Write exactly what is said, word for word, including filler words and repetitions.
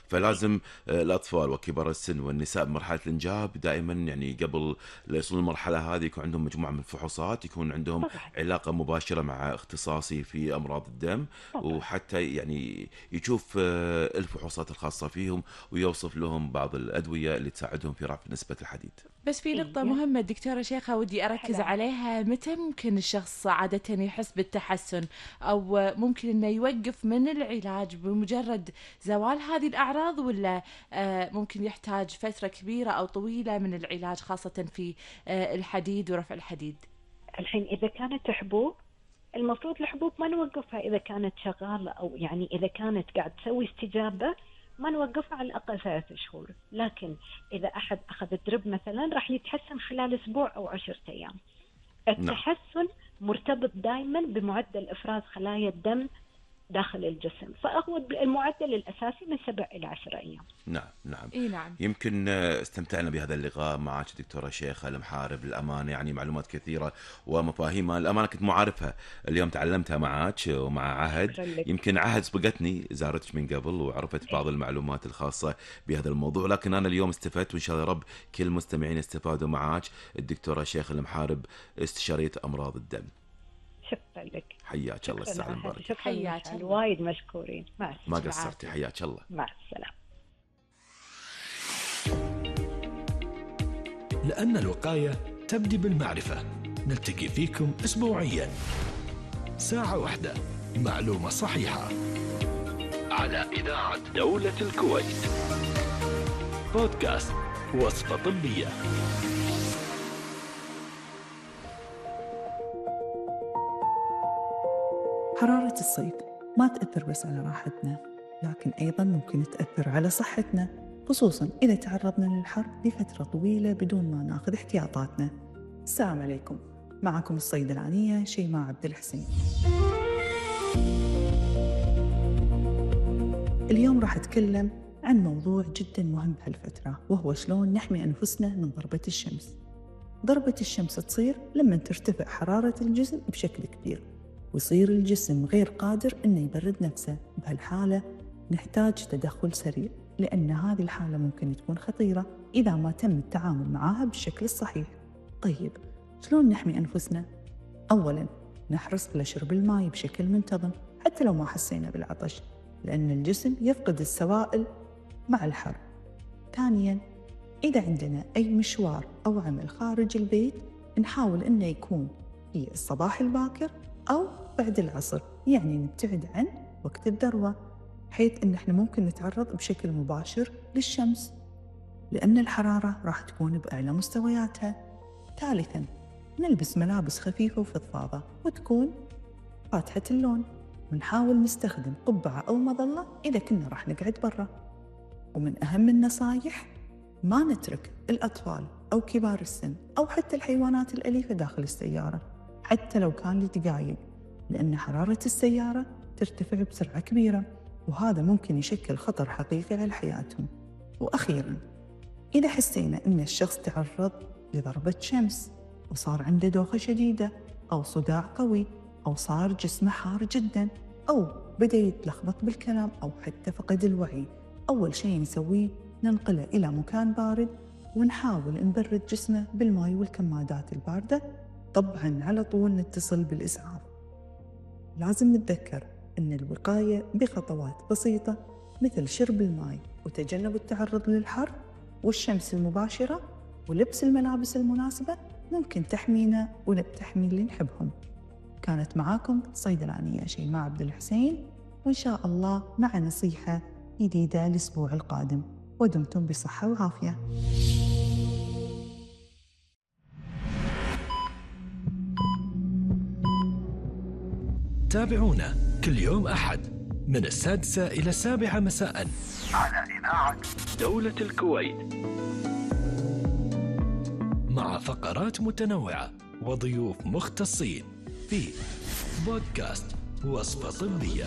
فلازم آه، الأطفال وكبار السن والنساء بمرحلة الإنجاب دائما يعني قبل لا يصلون المرحلة هذه يكون عندهم مجموعة من الفحوصات، يكون عندهم طبعا. علاقة مباشرة مع اختصاصي في أمراض الدم، طبعا. وحتى يعني يشوف آه، الفحوصات الخاصة فيهم ويوصف لهم بعض الأدوية اللي تساعدهم في رفع نسبة الحديد. بس في نقطة إيه. مهمة دكتورة شيخة ودي أركز هلا. عليها، متى ممكن الشخص عادة يحس بالتحسن أو ممكن أنه يوقف من العلاج بمجرد زوال هذه الأعراض، ولا آه، ممكن يحتاج فترة كبيرة أو طويلة من العلاج خاصة في آه، الحديد ورفع الحديد؟ الحين إذا كانت حبوب، المفروض الحبوب ما نوقفها إذا كانت شغالة، أو يعني إذا كانت قاعد تسوي استجابة ما نوقفها على الأقل ثلاثة شهور. لكن إذا أحد أخذ الدرب مثلا راح يتحسن خلال أسبوع أو عشرة أيام. نعم. التحسن مرتبط دائما بمعدل إفراز خلايا الدم داخل الجسم، فهو المعدل الأساسي من سبع إلى عشرة أيام. نعم نعم. إيه نعم. يمكن آه، استمتعنا بهذا اللقاء معك دكتورة شيخة المحارب، للأمانة يعني معلومات كثيرة ومفاهيم الأمانة كنت ما أعرفها، اليوم تعلمتها معك ومع عهد. شكراً لك. يمكن عهد سبقتني زارتك من قبل وعرفت بعض المعلومات الخاصة بهذا الموضوع، لكن أنا اليوم استفدت، وإن شاء الله رب كل المستمعين استفادوا معك. الدكتورة شيخة المحارب، استشارية أمراض الدم. شكرا لك. حياك الله، الساعة المباركة. شكرا حياك مشعل. الله. وايد مشكورين. مع ما السلامة. قصرتي، حياك الله. مع السلامة. لأن الوقاية تبدي بالمعرفة. نلتقي فيكم أسبوعياً ساعة واحدة، معلومة صحيحة، على إذاعة دولة الكويت. بودكاست وصفة طبية. حرارة الصيف ما تأثر بس على راحتنا، لكن أيضاً ممكن تأثر على صحتنا، خصوصاً إذا تعرضنا للحر لفترة طويلة بدون ما ناخذ احتياطاتنا. السلام عليكم، معكم الصيدلانية شيماء عبد الحسين. اليوم راح أتكلم عن موضوع جداً مهم بهالفترة، وهو شلون نحمي أنفسنا من ضربة الشمس. ضربة الشمس تصير لما ترتفع حرارة الجسم بشكل كبير، ويصير الجسم غير قادر إنه يبرد نفسه. بهالحالة نحتاج تدخل سريع، لأن هذه الحالة ممكن تكون خطيرة إذا ما تم التعامل معها بالشكل الصحيح. طيب، شلون نحمي أنفسنا؟ أولاً، نحرص على شرب الماء بشكل منتظم حتى لو ما حسينا بالعطش، لأن الجسم يفقد السوائل مع الحر. ثانياً، إذا عندنا أي مشوار أو عمل خارج البيت، نحاول إنه يكون في الصباح الباكر أو بعد العصر، يعني نبتعد عن وقت الذروة، حيث إن إحنا ممكن نتعرض بشكل مباشر للشمس، لأن الحرارة راح تكون بأعلى مستوياتها. ثالثاً، نلبس ملابس خفيفة وفضفاضة وتكون فاتحة اللون، ونحاول نستخدم قبعة أو مظلة إذا كنا راح نقعد برا. ومن أهم النصايح، ما نترك الأطفال أو كبار السن أو حتى الحيوانات الأليفة داخل السيارة حتى لو كان لدقايق، لأن حرارة السيارة ترتفع بسرعة كبيرة، وهذا ممكن يشكل خطر حقيقي على حياتهم. وأخيراً، إذا حسينا أن الشخص تعرض لضربة شمس وصار عنده دوخة شديدة أو صداع قوي أو صار جسمه حار جداً أو بدأ يتلخبط بالكلام أو حتى فقد الوعي، أول شيء نسويه ننقله إلى مكان بارد، ونحاول نبرد جسمه بالماء والكمادات الباردة. طبعاً على طول نتصل بالإسعاف. لازم نتذكر أن الوقاية بخطوات بسيطة، مثل شرب الماء وتجنب التعرض للحر والشمس المباشرة ولبس الملابس المناسبة، ممكن تحمينا وتحمي اللي نحبهم. كانت معاكم صيدلانية شيماء عبد الحسين، وإن شاء الله مع نصيحة جديدة الأسبوع القادم، ودمتم بصحة وعافية. تابعونا كل يوم أحد من السادسة إلى السابعة مساء على إذاعة دولة الكويت، مع فقرات متنوعة وضيوف مختصين في بودكاست وصفة طبية.